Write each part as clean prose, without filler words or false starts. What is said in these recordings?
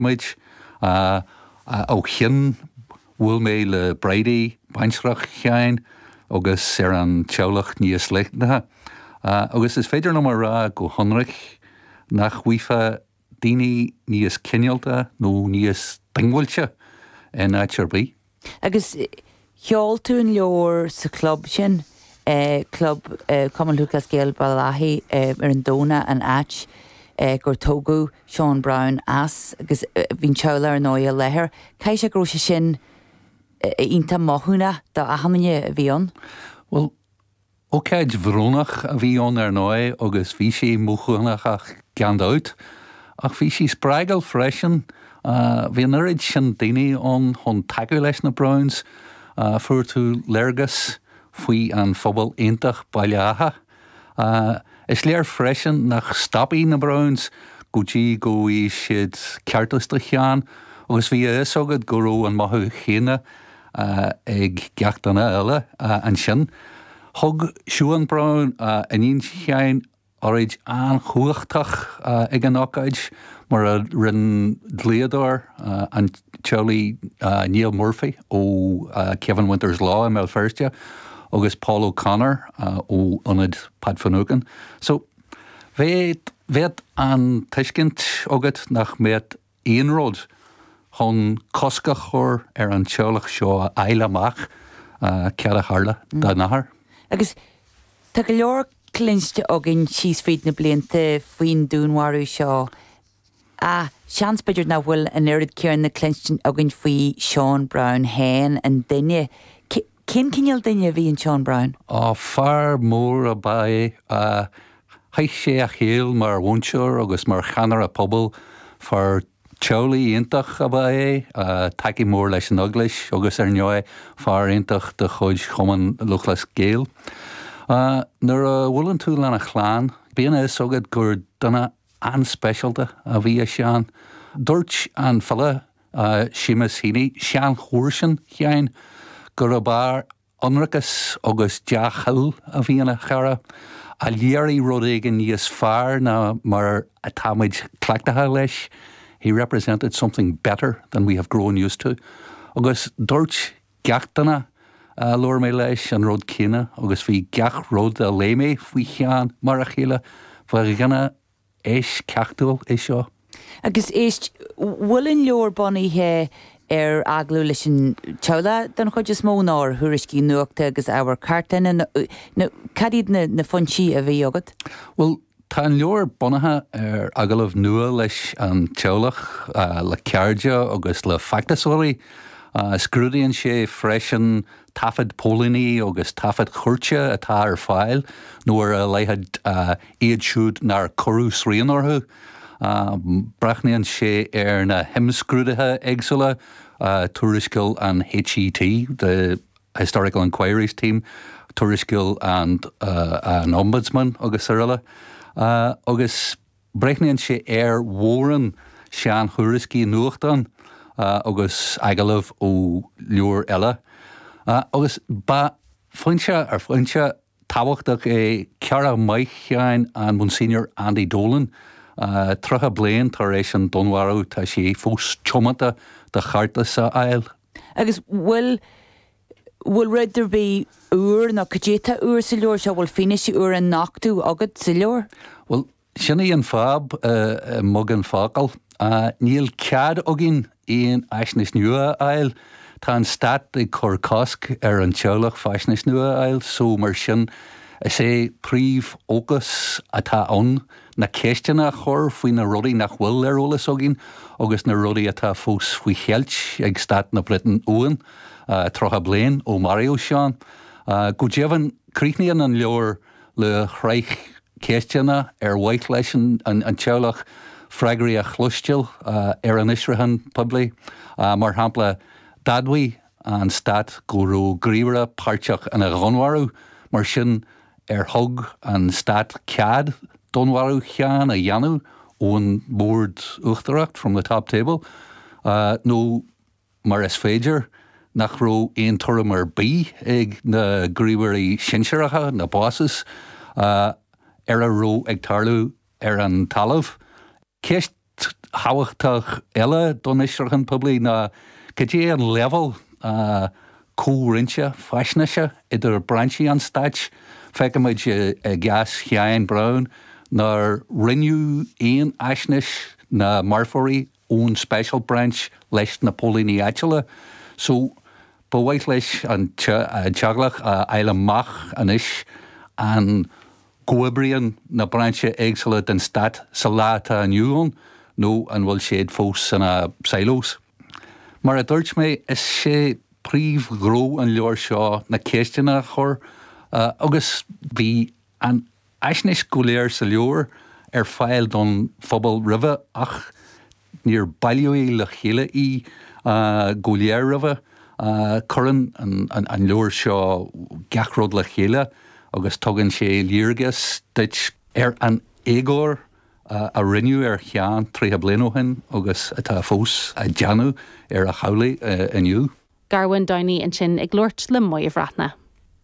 muid. Ó shin bhuail mé le Bridie, baintreach Sheáin, agus ar an teaghlach níos leithne. Agus is féidir liom a rá go hionraic nach bhfaighfeá daoine níos cineálta nó níos diongbháilte in áit ar bith. Agus sheol tú an leabhar sa chlub sin, Club Chumann Lúthchleas Gael Béal Átha ar an Domhnach, an áit gur tógadh Seán Brown as agus bhí an teaghlach ar ndóigh i láthair. Caithfidh sé go raibh sé sin iontach mothúnach do achan duine a bhí ann. Bhuel, Ócáid bhrónach a bhí ann ar ndóigh agus bhí sé mothúchánach gan dabht, ach bhí sé spreagúil freisin. Bhí an oiread sin daoine ann chun tacú leis na Browns. Fuair tú léargas faoi an phobal iontach Baile Átha. Is léir freisin nach stopfaidh na Browns go dtí go bhfaighidh siad ceartas do Sheán agus bhí a fhios agat go raibh an mothú chéanna ag gach duine eile ansin. Thug Siobhán Brown, iníon Sheáin, óráid an-chumhachtach ag an ócáid, mar a rinne dlíodóir an teaghlaigh Neil Murphy ó Kevin Winters Law i mBéal Feirste agus Paul O'Connor ó Ionad Pat Finucane. So, bheadh an tuiscint agat nach mbeadh aon rud chun cosc a chur ar an teaghlach seo a fháil amach cad a tharla dá n-athair. Agus tá go leor cluinste againn síos fríd na blianta faoin dúnmharú seo ach seans b'fhéidir nach bhfuil an oiread céanna cluinstin againn faoi Seán Brown féin, an duine. Cén cineál duine a bhí in Seán Brown? Á, fear mór ab ea é. Chaith sé a shaol mar mhúinteoir agus mar cheannaire pobail. Fear teaghlaigh iontach ab ea é, tacaí mór leis an Eaglais agus, ar ndóigh, fear iontach de chuid Chumann Lúthchleas Gael. Nuair a bhuaileann tú lena chlann, bíonn a fhios agat gur duine an-speisialta a bhí i Seán. Dúirt an file Seamus Heaney, seanchomharsan Sheáin, gurb fhear ionracas agus dea-thoil a bhí ina chara, a léirigh rud éigin níos fearr ná mar atáimid cleachtaithe leis, he represented something better than we have grown used to. Agus dúirt gach duine a labhair mé leis an rud céanna agus bhí gach rud a léigh mé faoi Sheán mar a chéile, ba dhuine eisceachtúil é seo. Agus éist, bhfuil an leabhar bunaithe ar agallaimh leis an teaghlach den chuid is mó nó ar thuairiscí nuachta agus ábhar cartlainne nó cad iad na foinsí a bhí agat? Bhuel, tá an leabhar bunaithe ar agallaimh nua leis an teaghlach, le cairde agus le feachtasóirí. Scrúdaíonn sé freisin taifid póilíní agus taifid chúirte atá ar fáil, nó ar a laghad iad siúd nár cuireadh srian orthu. Breathnaíonn sé ar na himscrúduithe éagsúla, tuarascáil an HET, the Historical Inquiries Team, tuarascáil an Ombudsman agus araile, agus breathnaíonn sé ar mhórán sean-thuairiscí nuachtán agus agallaimh ó leabhair eile. Agus ba foinse ar foinse tábhachtach é cara maith Sheáin, an Monsignor Andy Dolan. 30 bliain tar éis an dúnmharú tá sé fós tiomanta do cheartas a fháil. Agus bhfuil, bhfuil rud ar bith úr nó cad é atá úr sa leabhar seo, bhfuil fianaise úr á nochtadh agat sa leabhar? Bhuel, Sin í an fadhb i mbeagán focal. Níl cead againn aon fhaisnéis nua a fháil. Tá an stát ag cur cosc ar an teaghlach faisnéis nua a fháil so mar sin is é príomhfhócas atá ann na ceisteanna a chur faoi na rudaí nach bhfuil ar eolas againn agus na rudaí atá fós faoi cheilt ag stát na Breataine uainn, 30 bliain ó maraíodh Seán. Go deimhin, críochnaíonn an leabhar le shraith ceisteanna ar mhaith leis an teaghlach freagraí a chloisteáil ar an fhiosrúchán poiblí. Mar shampla, d'admhaigh an stát go raibh gníomhaire páirteach ina dhúnmharú, mar sin ar thug an stát cead dúnmharú Sheáin a dhéanamh ón mbord uachtarach, from the top table, nó mar is féidir nach raibh aon tuairim ar bith ag na gníomhairí sinsearacha, na bosses, ar a raibh ag tarlú ar an talamh. Ceist Ceist thábhachtach eile don fhiosrúchán poiblí ná cad é an leibhéal comhroinnte faisnéise idir brainsí an stáit. Feicimid i gcás Sheáin Brown nár roinneadh aon fhaisnéis na marfóirí ón Special Branch leis na póilíní áitiúla. So, ba mhaith leis an teaghlach a fháil amach anois an gcomhoibríonn na brainsí éagsúla den stát sa lá atá inniu ann nó an bhfuil siad fós ina silos. Mar a dúirt mé, is é príomhghnó an leabhair seo na ceisteanna a chur agus bhí an fhaisnéis go léir sa leabhar ar fáil don phobal roimhe ach níor bailíodh le chéile í go léir roimhe. Cuireann an leabhar seo gach rud le chéile agus tugann sé léargas duit ar an éagóir a rinneadh ar Sheán 30 bliain ó shin agus atá fós á déanamh ar a theaghlaigh inniu. Garvin Downey ansin ag labhairt le Moya Bhreathnach.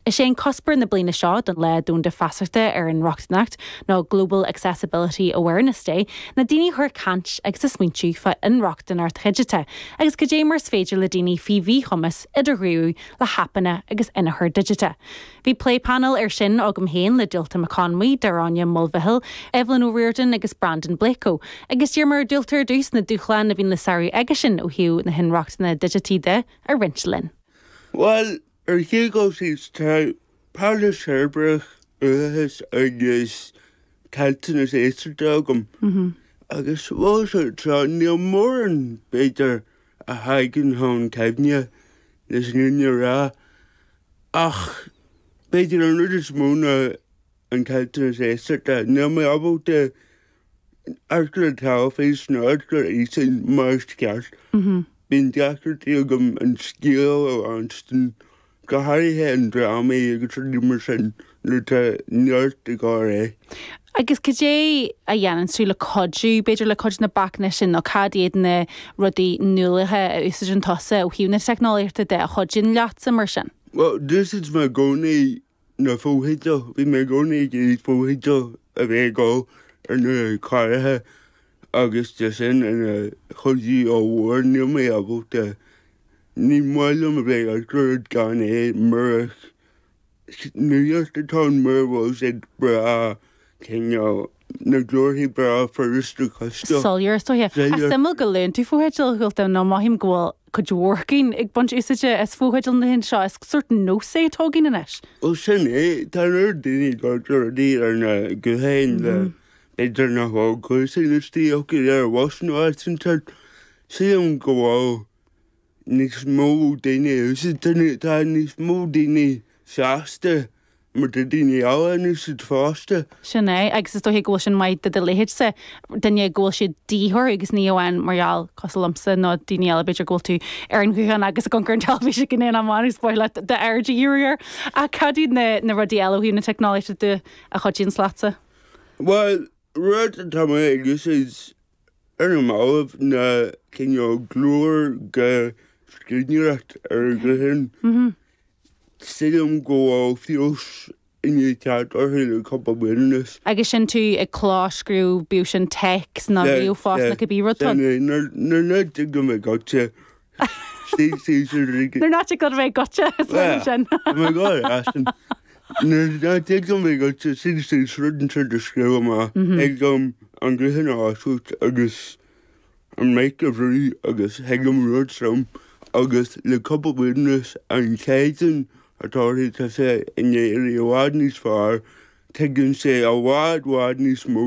Is é an cuspóir na bliana seo don Lá Domhanda Feasachta ar Inrochtaineacht, nó Global Accessibility Awareness Day, ná daoine a chur ag caint agus ag smaointiú fá inrochtaineacht dhigiteach agus cad é mar is féidir le daoine faoi mhíchumas idirghníomhú le haipeanna agus inneachar digiteach. Bhí plé painéil air sin agam féin le Dualta Mac Conmhaí, Daráine Mulvihill, Evelyn O'Riordan agus Brandon Blako agus d'iarr mé ar Dualta ar dtús na dúshláin a bhíonn le sárú aigesean ó thaobh na hinrochtana digití de a roinnt linn. Bhuel, ar an chéad dul síos, tá pairilis cheirbreach, uathachas agus caillteanas éisteachta agam. Agus bhuel, so níl mórán, b'fhéidir, a thagann chun cuimhne leis an fhírinne a rá. Ach b'fhéidir an rud is mó ná an caillteanas éisteachta. Níl mé ábalta amharc ar an teilifís nó amharc ar fhíseáin mar is ceart. Bíonn deacrachtaí agam an scéal a leanstan, go háirithe in drámaí agus rudaí mar sin nuair atá neart ag dul ar aghaidh. Agus cad é a dhéanann tú le cuidiú, b'fhéidir, le cuid de na bacanna sin nó cad iad na rudaí nuálacha a úsáideann tusa ó thaobh na teicneolaíochta de a chuidíonn leatsa mar sin? Bhuel, d'úsáid mé i gcónaí na fotheidil, bhí mé i gcónaí ag iarraidh fotheidil a bheith ag dul ar na cláracha agus tá sin ina chuidiú ollmhór, níl mé ábalta, ní maith liom a bheith ag amharc ar rud gan é murach nuacht atá ann mura bhfuil siad breá cineál na glórthaí breá furasta cloisteáil. Soiléir is dóiche. Ach suimiúil go luann tú fotheidil, a Dhualta, nó mothaím go bhfuil cuid mhór againn ag baint úsáide as fotheidil na laethanta seo. Is sórt nós é atá againn anois. Bhuel sin é. Tá an oiread daoine ag amharc ar rudaí ar na gutháin le b'fhéidir nach bhfuil cluasáin istigh acu ar bhus nó áit inteacht. Sílim go bhfuil níos mó daoine a úsáideann, tá níos mó daoine sásta mar tá daoine eile in úsáid fosta. Sin é, agus is dóiche go bhfuil sin maith do do leithéidse, duine go bhfuil sé de dhíth orthu agus ní amháin mar gheall, cosúil liomsa nó daoine eile b'fhéidir go bhfuil tú ar an ghuthán agus ag amharc ar an teilifís ag an aon am amháin agus ba mhaith leat d'aird a dhíriú air. Ach cad iad na na rudaí eile ó thaobh na teicneolaíochta de a chuidíonns leatsa? Bhuel, rud atá mé ag úsáid Ar na mallaibh ná cineál glór go scríbhneoireacht ar an ghuthán. Sílim go bhfuil feabhas i ndiaidh teacht orthu le cúpla bliain anuas. Agus sin tú ag clóscríobh, bíodh sin téacs nó ríomhphost nó cibé rud atá ann. Nuair nach dtig liom a bheith goitse, Nuair nach dtig liom a bheith goitse, is maith liom sin. Tá mé ag gabháil ar ais sin. Nuair nach dtig liom a bheith goitse, suigh suas rud inteacht a scríobh amach, thig liom an guthán a oscailt agus an mic a bhrú agus thig liom rud trom agus le cúpla bliain anuas an caighdeán atá orthu tá sé i ndiaidh éirí i bhfad níos fearr, tuigeann sé i bhfad bhfad níos mó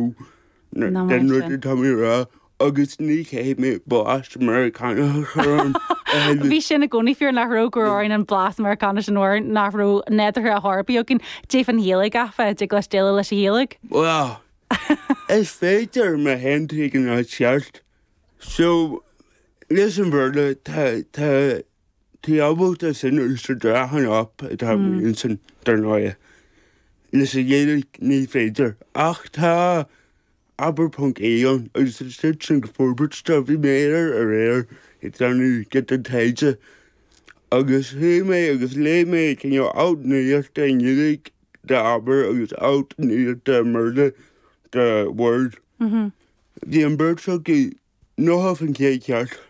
den rud atá mé a rá agus ní chaithfidh mé blas Meiriceánach a chur ann a thuilleadh. Bhí sin i gcónaí fíor nach raibh go raibh orainn an blas Meiriceánach sin uair nach raibh nádúrtha ar chor ar bith againn. Cad é fán Ghaeilge áfach, dtig leis déileáil leis an Ghaeilge? Bhuel, is féidir má théann tú ag an áit cheart. So, leis an Bhéarla, tá, tá, tú ábalta sin a úsáid ar achan app atá amuigh ansin, dar ndóigh. Leis an Ghaeilge, ní féidir. Ach tá Abair ponc ie ann agus tá siad sin ag forbairt dó. Bhí mé air aréir ag déanamh giota taighde agus chuaigh mé agus léigh mé cineál alt nuachta i nGaeilge d'Abair agus alt nuachta i mBéarla do Word. Bhí an bheirt acu 90% ceart.